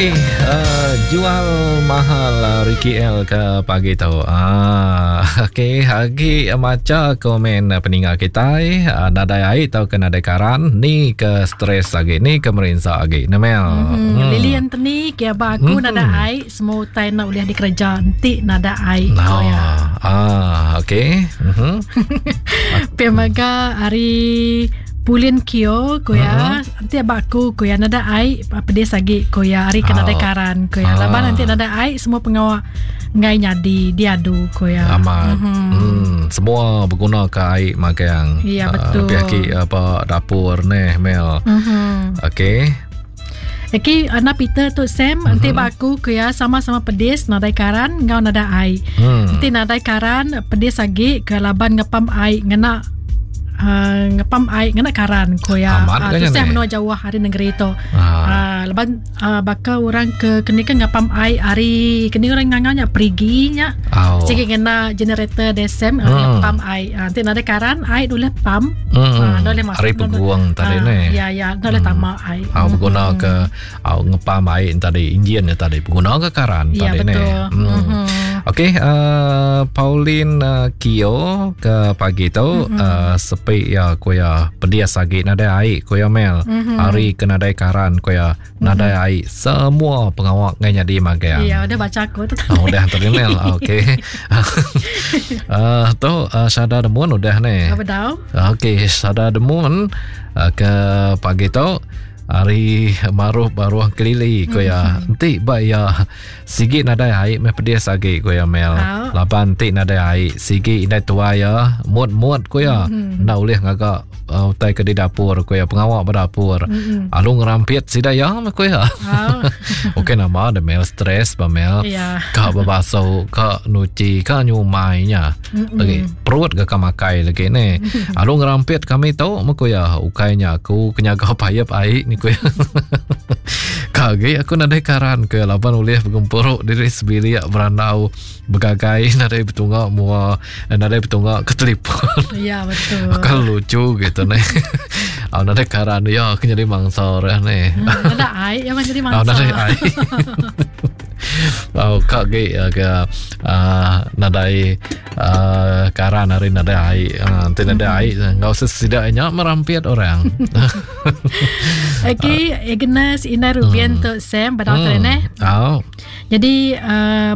Okey, jual mahal Ricky L ke pagi tu. Ah, okey, agi macha komen peninga kitai, nadai ai tau ke nadai karan, ni ke stres agi, ni ke merinsa agi. Nemel. Lily Anthony ke aba aku nadai ai, semua utai enda ulih dikereja enti nadai ai. No. Ko ya. Ah, okey. Pia mega ari Pulin Kio ko ya. Enti aba aku ko ya nadai ai pedis agi ko ya ari ke nadai karan ko ya. Laban enti nadai ai semua pengawa enggai nyadi diadu ko ya. Amat. Semua beguna ke ai magang. Ya betul. Lebih agi ba dapur neh Mel. Okey. Eki anak Peter tu Sam enti ba aku ku iya sama-sama pedis nadai karan enggau nadai ai. Enti nadai karan pedis agi ke laban ngepam ai ngena uh, ngepam ai ngena karan ku iya. Amat Uh, ke nya tusah ni? menua jauh ari negeri tu. Laban baka orang ke keni ke ngepam ai ari keni orang ngangau nya perigi nya. Sigi ngena generator deh Sam ngepam ai. Enti nadai karan ai ulih pam. Enda ulih masuk. Ari peguang tadi ni. Ya ya enda ulih tama ai. Au beguna ke au ngepam ai tadi enjin nya tadi beguna ke karan Ya, tadi ni. betul. Okey, Pauline Kio ke pagi tu sepi ya ku ya pedis agi nadai ai ku ya Mel. Ari ke nadai karan ku ya nadai ai semua pengawa ngai nyadi magang. Ya, udah baca aku tu. Oh, udah tadi Mel. Okey. Tu Sada Demun udah ni. Apa tau? Okey, Sada Demun ke pagi tu ari maruh baruh kelili ku ya. Enti ba ya sigi nadai ai meh pedis agi ku ya Mel. Laban enti nadai ai sigi indai tuai ya mut-mut ku ya. Enda ulih ngaga utai ke di dapur ku ya pengawa ba dapur. Alu ngerampit sida ya meh ku ya. Okey nama de Mel stress ba Mel. Ka bebasu, ka nuchi, ka nyumai nya. Lagi perut ga ka makai lagi ni. Alu ngerampit kami tu meh ku ya. Ukai nya aku ke nyaga payep ai ni ku ya. Ka agi aku nadai karan ku ya laban ulih begempuru diri sebilik berandau begagai nadai betunga mua nadai betunga ke telefon. Ya betul. Kan lucu gitu ni. Au nadai karan ya aku nyadi mangsa orang ni. Nadai ai ya jadi mangsa. Au nadai ai. Au ka gi ke nadai karan hari nadai ai. Enti nadai ai enggau sesida nya merampit orang. Okey, Agnes Ina Rubian tu Sam pada hmm. eh. Au. Jadi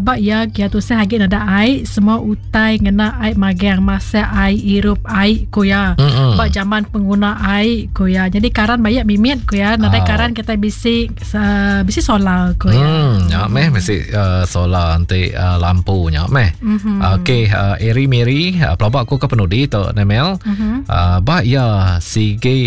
ba iya kia tusah agi nadai ai semua utai ngena ai magang masak ai irup ai ku iya. Ba jaman pengguna ai ku iya. Jadi karan bayak mimit ku iya nadai karan kita bisi bisi solar ku iya. Nya meh bisi solar enti lampu nya meh. Okey Eri Mary pelaba aku ke penudi tu Nemel. Ba iya sigi.